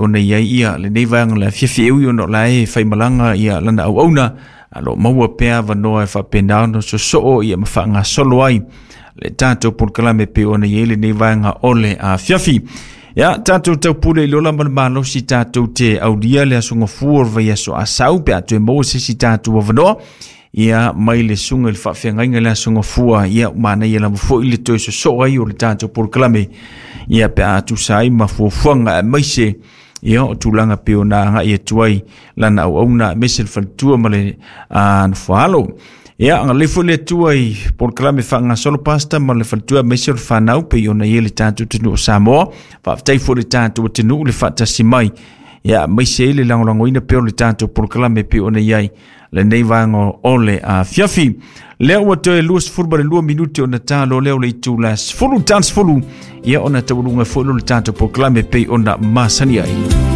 ona i ai ia lenei vaega o le afiafi, e ui ona o la e faimalaga ia lana auauna, a lo o maua pea avanoa e faapena ona sosoo ia ma faagasolo ai le tatou polokalame pei ona i ai lenei vaega o le afiafi. Ia, tatou taupule i le ola ma le malosi tatou te aulia le aso gafua o le vaiaso Asau pe a toe maua se isi tatou avanoa. Ia, mai le susuga i le faafeagaiga i le aso gafua, ia, manaia lava foi le toe sosoo ai o le tatou polokalame, ia, pe a tusa ai ma fuafuaga aemaise ia o tulaga pei ona agai atu ai lana auauna aemaise le faletua ma le nofoaalo. Ia, agalelei foi le Atua i polokalame faagasolo pasta ma le faletua aemaise o le fanau pei ona i ai le tatou atunuu o Samoa. Faafetai foi le tatou atunuu le faatasi mai, ia, aemaise ai le lagolagoina pea o le tatou polokalame pei ona i ai lenei vaega o le afiafi. Lea ua toe 22 minute ona talo lea o le itula 10 tan 10, ia ona taualuga foi lo le tatou polokalame pei ona masani ai.